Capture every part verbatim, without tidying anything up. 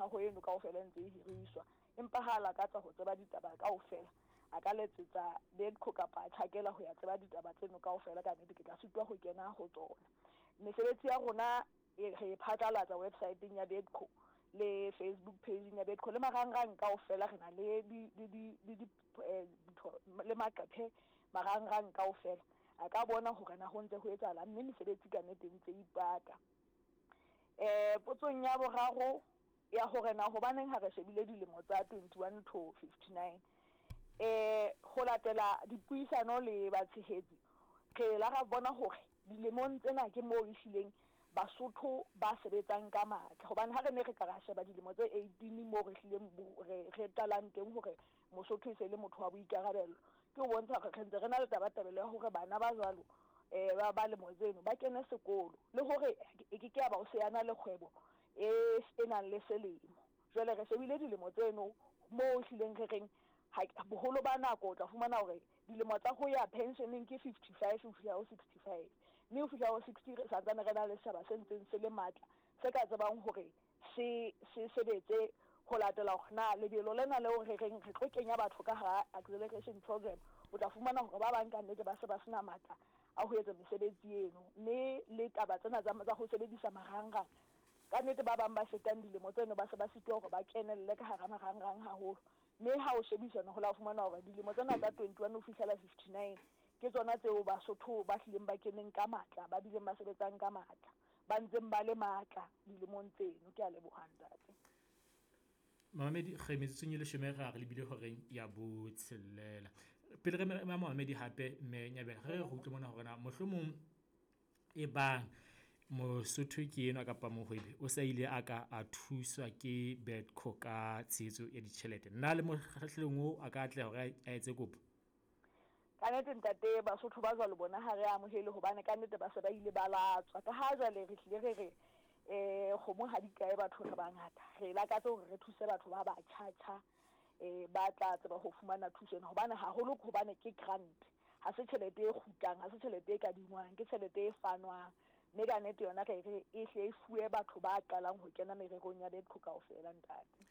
mehaho eno kaofela e ntse e hiriswa. Empa ha a lakatsa ho tseba ditaba kaofela, a ka letsetsa BEDCO kapa a tjhakela ho ya tseba ditaba tseno kaofela. Ka nnete ke tla sitwa ho kena ho tsona. Mesebetsi ya rona e re e phatlalatsa website-eng ya BEDCO le Facebook page-eng ya BEDCO le marangrang kaofela. Re na le di di di di di eh, le maqephe marangrang kaofela, a ka bona hore na ho ntse ho etsahala, mme mesebetsi ka nnete e ntse ipaka. Eh potsong ya boraro ya hore na hobaneng ha re shebile dilemo tsa twenty-one to fifty-nine, eh ho latela dipuisano le batshehetsi, re la ra bona hore dilemong tsena ke moo ehlileng Basotho ba sebetsang ka matla. Hobane ha re ne re ka ra sheba dilemo tse eighteen moo re hlileng re re qalang teng hore Mosotho e se le motho wa boikarabelo, ke ho bontsha hore re ntse re na le tabatabelo ya hore bana ba jwalo eh ba ba lemo tseno ba kene sekolo, le hore e ke ke ya ba o se yana le kgwebo e e nang le selemo. Jwale re shebile dilemo tseno moo ehlileng re reng boholo ba nako o tla fumana hore dilemo tsa ho ya pensioneng ke fifty-five ho fihla ho sixty-five, mme ho fihla ho sixty re santsane re na le setjhaba se ntseng se le matla se ka tsebang hore se se sebetse ho latela hore na lebelo lena leo re reng re tlo kenya batho ka hara acceleration program. O tla fumana hore ba bang ka nnete ba se ba sena matla a ho etsa mesebetsi eno, mme le taba tsena tsa tsa ho sebedisa marangrang ka nnete ba bang ba fetang dilemo tseno ba se ba sitwa hore ba kenelle ka hara marangrang haholo. Mme ha o shebisana ho la fumana hore dilemo tsena tsa twenty-one ho fihlela fifty-nine ke tsona tseo Basotho ba hlileng ba keneng ka matla, ba bileng ba sebetsang ka matla, ba ntseng ba le matla dilemong tseno. Ke a leboha ntate. Mamedi, re metsotsong e leshome re a re lebile horeng ya botshelela. Pele re ma Mamedi hape mme Nyabela, re re utlwe mona hore na mohlomong e bang Mosotho ke enwa kapa mohwebi o sa ile a ka a thuswa ke BEDCO ka tshehetso ya ditjhelete, nna le mokgahlelong oo a ka atleha hore a etse kopo? Ka nnete ntate, Basotho ba jwalo bona ha re amohele, hobane ka nnete ba se ba ile ba latswa. Ka ha jwale re hlile re re eh kgomo ha di kae, batho re bangata, re lakatsa hore re thuse batho ba batjha-tjha eh ba tla tseba ho fumana thuso ena, hobane haholo ke hobane ke grant, ha se tjhelete e kgutlang, ha se tjhelete e kadingwang, ke tjhelete e fanwang. Mme ka nnete yona re re e hle e fuwe batho ba qalang ho kena mererong ya BEDCO kaofela ntate.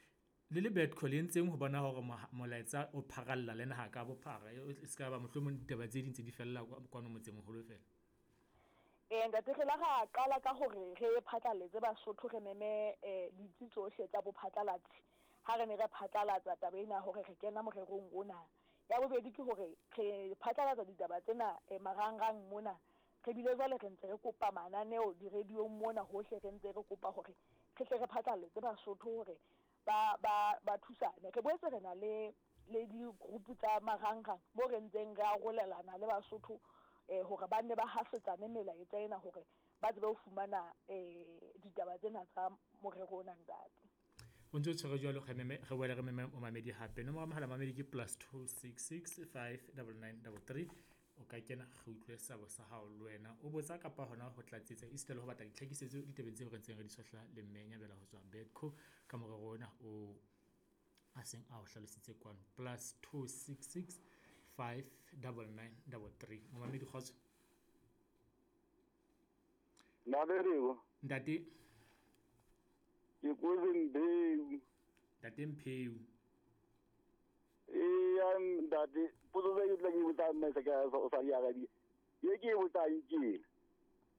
Le le BEDCO le entseng ho bona hore molaetsa o pharalla le naha ka bophara, e se ka ba mohlomong ditaba tse ding tse di fella kwano motseng moholo fela? Eh ntate, re la ra qala ka hore re phatlaletse Basotho, re meme eh ditsi tsohle tsa bophatlalatsi ha re ne re phatlalatsa taba ena hore re kena morerong ona. Ya bobedi ke hore re phatlalatsa ditaba tsena marangrang mona, re bile jwale re ntse re kopa mananeo di-radio-ng mona hohle, re ntse re kopa hore re tle re phatlaletse Basotho hore ba ba ba thusane. Re boetse re na le le di-group tsa marangrang mo re ntseng re arolelana le Basotho eh hore ba nne ba hasetsane melaetsa ena hore ba tsebe ho fumana eh ditaba tsena tsa morero ona ntate. O ntse o tshwere jwalo, re meme re boele re meme Mamedi hape. Nomoro ya mohala Mamedi ke plus two six six five double nine double three. O ka kena re utlwe sabo sa hao le wena o botsa kapa hona ho tlatsetsa esita le ho batla ditlhakisetso ditabeng tseo re ntseng re di sohla le mme Nyabela ho tswa BEDCO ka morero ona o a seng a o hlalositse kwano. Plus two six six five double nine double three. Momamedi kgotso. Ntate. Ke Kozi Mpheu. Ntate Mpheu. Eya ntate, potso tse ke tla ke botsa mme se ka o sa di arabi. Ye ke e botsang ke ena.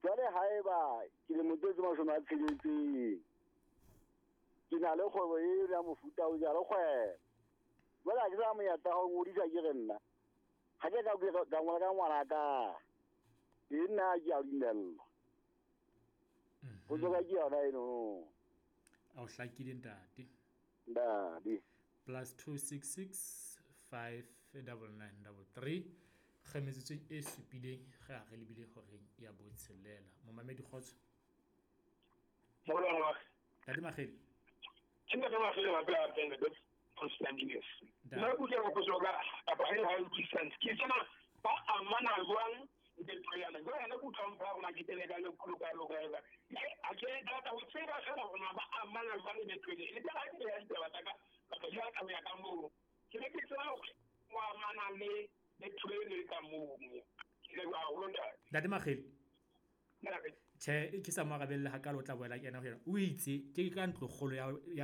Jwale haeba ke le motho tse mashome a tsheletseng, ke na le kgwebo e ya mofuta o jalo kgwebo. Jwale ha ke sa monyetla wa ho ngodisa ke re nna ha ke ka ka ngola ka ngwana ka, e nna ke a dumellwa. Potso ka ke yona eno. A o hlakile ntate. Ntate. Plus two six six five double nine double three. Re metsotsong e supileng re a re lebile horeng ya botshelela. Momamedi kgotso. Ntate Makgele. Ke ntate Makgele wa pela pele Constantine. Nna ke utlwa potso ka kapa ha e utlwisisang. Ke tsena ba amana jwang le tloyana. Jwale ena ke utlwang fa rona ke tele ka lekgolo ka loka ka. A ke rata ho tseba fela hore na ba amana jwang le tlwele. Le tla ke ya ditaba tsa ka kapa jwang ka ho ya ka moo. Ke ne ke tseba hore o amana le le tlwele ka moo. Ke leboha haholo ntate. Ntate Makgele. Tjhe, ke sa mo arabelle hakalo, o tla boela kena ho yena. O itse ke ka ntlo kgolo ya ya